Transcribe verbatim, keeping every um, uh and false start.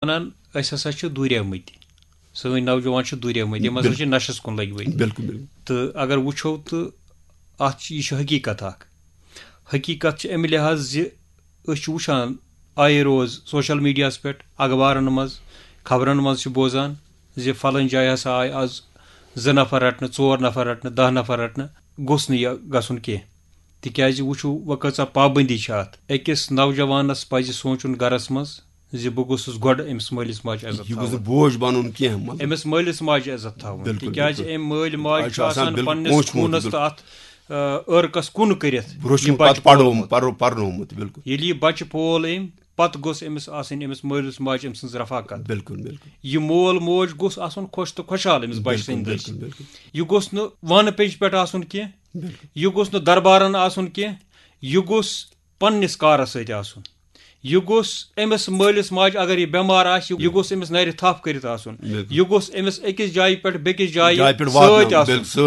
وَنان، أسۍ ہسا چھِ دوٗریمٕتۍ، سٲنۍ نوجوان چھِ دوٗریمٕتۍ، یِم ہسا چھِ نشس کُن لٔگۍ مٕتۍ۔ بِلکُل بِلکُل۔ تہٕ اگر وٕچھو تہٕ اَتھ چھِ، یہِ چھِ حقیٖقت اَکھ۔ حقیٖقت چھِ اَمہِ لحاظ زِ أسۍ چھِ وٕچھان آیے روز سوشل میٖڈیاہَس پٮ۪ٹھ، اخبارن منٛز، خبرن منٛز چھِ بوزان زِ فلٲنۍ جایہِ ہسا آے آز زٕ نفر رٹنہٕ، ژور نفر رٹنہٕ، دَہ نفر رٹنہٕ۔ گوٚژھ نہٕ یہِ گژھُن کینٛہہ، تِکیازِ وٕچھِو وۄنۍ کۭژاہ پابندی چھِ اَتھ۔ أکِس نوجوانس پَزِ سونٛچُن گرس منٛز زِ بہٕ گوٚژھُس گۄڈٕ أمِس مٲلِس ماجہِ عزت یہِ گوٚژھ تھاوُن۔ نہٕ بوج بَنُن کینٛہہ، مطلب۔ أمِس مٲلِس ماجہِ عزت تھاوُن، بِلکُل، تِکیازِ بِلکُل۔ أمۍ مٲلۍ ماجہِ اَسہِ چھُ چھُ آسان آسان بِلکُل پننِس پونٛسہٕ وونٛسہٕ، خوٗنس بِلکُل۔ تہٕ اَتھ آ، عٲرقس کُن کٔرِتھ برونٛہہ چھُ یہِ نہٕ بچہِ پَتہٕ پَرو پول۔ پَرو پَرنومُت، بِلکُل۔ ییٚلہِ یہِ بچہِ پول أمۍ، پتہٕ گوٚژھ أمِس آسٕنۍ أمِس مٲلِس ماجہِ أمۍ سٕنٛز رفاقت۔ بِلکُل بِلکُل۔ یہِ مول موج گوٚژھ آسُن خۄش تہٕ خۄشحال أمِس بچہِ بِلکُل سٕنٛدِ دٔسۍ۔ بِلکُل بِلکُل۔ یہِ گوٚژھ نہٕ وانہٕ پیٚنٛجہِ پٮ۪ٹھ آسُن کینٛہہ، بِلکُل۔ یہِ گوٚژھ نہٕ دربارن آسُن کینٛہہ، یہِ گوٚژھ پننِس کارس سۭتۍ آسُن۔ یہِ گوٚژھ أمِس مٲلِس ماجہِ، اگر یہِ بٮ۪مار آسہِ، یہِ گوٚژھ أمِس نرِ تھپھ کٔرِتھ آسُن۔ بِلکُل۔ یہِ گوٚژھ أمِس أکِس جایہِ پٮ۪ٹھ بیٚکِس جایہِ جایہِ پٮ۪ٹھ سۭتۍ واتناوُن، آسُن۔ بِلکُل، سۭتۍ